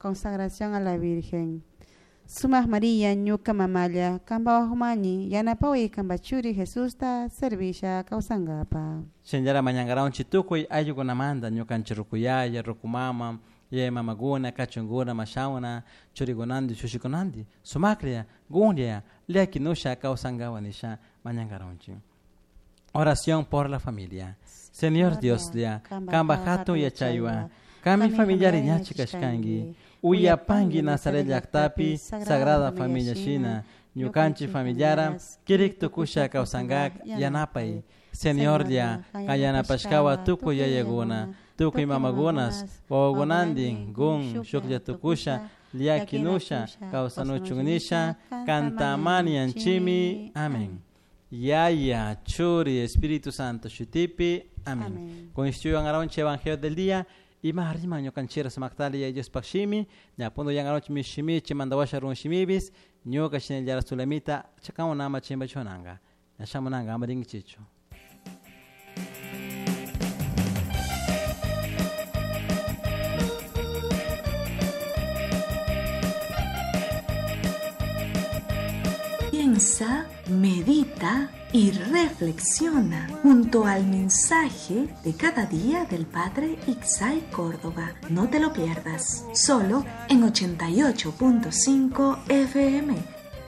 Consagración a la Virgen. Sumaq María ñuka mamalla kanpa wajumani yanapaway kanpa churi Jesusta servisha kawsankapa. Shinallara mañankaranchik tukuy ayllukunamanta ñukanchik rukuyaya, rukumama, yaya mamakuna, kachunkuna, mashawna, churikunanti, shushikunanti, sumaklla, gunlla, llakinusha kawsankawa nisha mañankaranchik. Oración por la familia. Señor Dioslla, kanpa hatun yachaywan, kanmi familiari ñachi kashkanki, uyapanki Nazaret llaktapi Sagrada Familia shina, ñukanchik familiara kirik tukusha kawsankak yanapay. Señorlla, kan yanapashkawa tukuy yayakuna, tukuy mamakunas, wawakunantin gun shuklla tukusha, llakinusha kawsanuchun nisha, kantamanianchimi. Amén. Yaya, Churi, Espíritu Santo, Shutipi. Amén. Con esto Evangelio del día. Ima rima ñukanchira sumaktali ya Diospaq shimi, ñapundu yangaronchi mi shimi chimandawasha run shimibis, ñuka shinallara sulamita chakamunama chimba chunanga. Ñashamunanga amarinkichichu. Piensa, medita y reflexiona junto al mensaje de cada día del Padre Ixay Córdoba. No te lo pierdas, solo en 88.5 FM.